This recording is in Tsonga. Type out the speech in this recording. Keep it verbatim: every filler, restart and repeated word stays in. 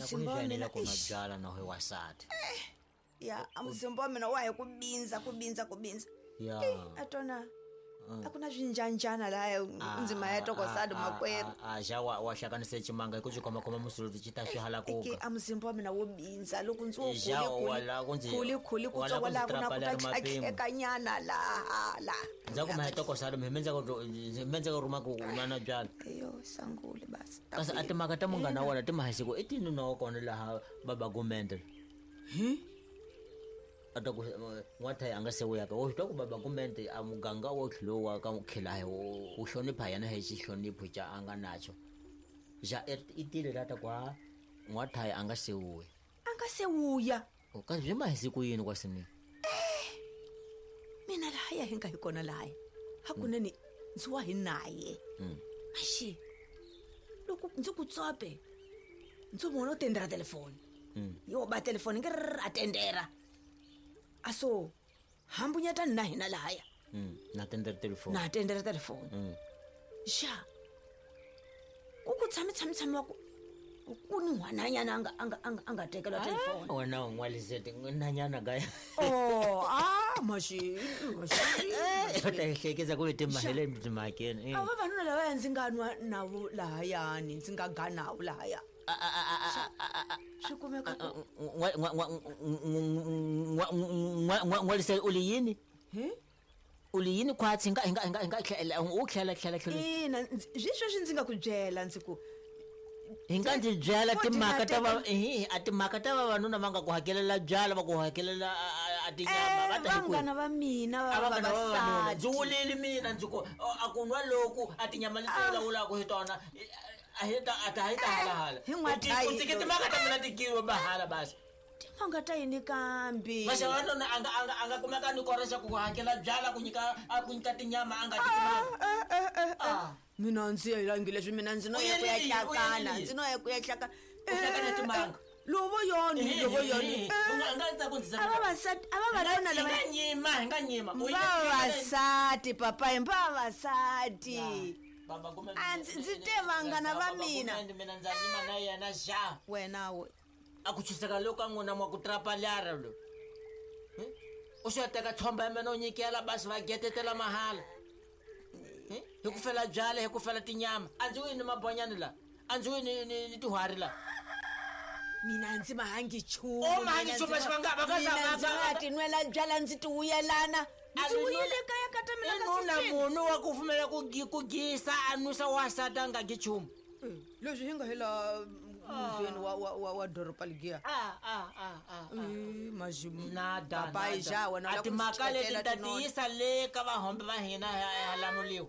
Na ku Muzimba wa hi mina, ku nwa eish. byala na hi wasati. Ya, a muzimba wa mina wa hi ku bindza, ku bindza, ku bindza. Ya. Ei, a tona a ku na swinjanjana lahaya ndzima ya tokosadi makwerhu. A xa wa wa hlanganise ximanga hi ku xi khomakhoma musuluti xi ta swi hala Eke kuka. a muzimba wa mina wo bindza loko ndzi wo Xa, wala ku ndzi- khuli khuli wala ku kutsongo ndzi laha ku na ku ta trapala ri mapimo. tlhatlhekanyana laha laha. Ndzhaku ma hi tokosadi mi mendza ku mi ku rhuma ku nwa na byala. Eyo sangule basi. Kasi a timhaka ta munghana wa wena ti mahisiku i tini na wa kona laha baba gumende. A ta ku n'wathayi a nga se wuyaka wo swi twa ku baba gumende a muganga wo tlhelo wa ka khilahi wu hlonipha yena hi xihlonipho xa a nga nacho. Xa i tile la ta ku ha n'wathayi a nga se wuya. A nga se wuya. Kasi byi mahisiku yini kwasini? Mina lahaya hi nga hi kona lahaya. Hakunene ndzi wa hi naye. Axi loko ndzi ku tsope ndzi vona u tendera telefoni. Yo ba telefoni ngi a tendera. Aso hambunyetani na hina lahaya. Na tendera telefoni. Na tendera telefoni. Xa ku ku tshami tshami tshami wa ku ku ni n'wananyana a nga a nga a nga a nga tekela telefoni. Wena u n'walisete nanyana ka. Oh, ah, maxi, maxi. U ta hi hlekisa ku timahele timhakeni. A vavanuna lavaya ndzi nga nwa navo lahayani, ndzi nga ga navo lahaya. Swi kumeka ku N'walisele u li yini? Hi? U li yini khwatsi hi nga hi nga hi nga hi nga tlhela u tlhela tlhela tlhela. Ina, swi sweswi ndzi nga ku byela ndzi ku hi nga ndzi byela timhaka ta va Ordinary. hi a timhaka ta vavanuna va nga ku hakelela byala va ku hakelela a tinyama va ta hi kwihi? Vanghana va mina va A vanghana va vavanuna ndzi vavasati. wulile mina ndzi ku a ku nwa loku a tinyama leti vulavulaka hi tona a hi ta a ta hi ta halahala. Hi n'wathayi. U tshike timhaka ta mina ti kiwa mahala basi. Timhaka ta yini kambe? Maxavanuna a nga a nga a nga kumeka ni kora xa ku hakela byala ku nyika a ku nyika tinyama a nga ti timanga. Ah. Mina ndzi yelangi leswi mina ndzi no U ya ku ya yelile, u hlakana, yelile. ndzi no ya ku ya hlakana. U hlakana timanga. Lovo yoni, lovo yoni. U nga nga ndza ku ndzi A vavasati, a vavanuna Hi lava nga nyima, hi nga nyima. U yile- vavasati papayi, vavasati. Baba kumbe A ndzi ndzi te vanghana va Baba mina. kumbe mina ndza nyima na yena xa. Wena we. A ku chiseka loko ka n'wina mwa ku trapalyara lo. U xo teka tshomba ya mina u nyikela basi va getetela mahala. Hi ku fela byala, hi ku fela tinyama. A ndzi wini mabonyani la. A ndzi wini ni ni tihwari la. Mina ndzi mahangi nchumu. U mahangi nchumu, va nga va nga Mina ndzi va nga tinwela byala ndzi ti wuyelana. Ndzi wuyele kaya ka ta mina I ka nuna sixteen. munhu wa ku pfumela ku gi- ku gisa a nwisa wasati a nga gi nchumu. Leswi hi nga hi laha muzweni wa wa wa wa doroba ligiya. Ah, ah, ah, ah. Eh, mazimu. Nada, Papayi nada. xa wena A u lava ku ndzi timhaka leti tekela ta tinoni. tiyisa le ka vahombe va hina ha ha lamuliwa.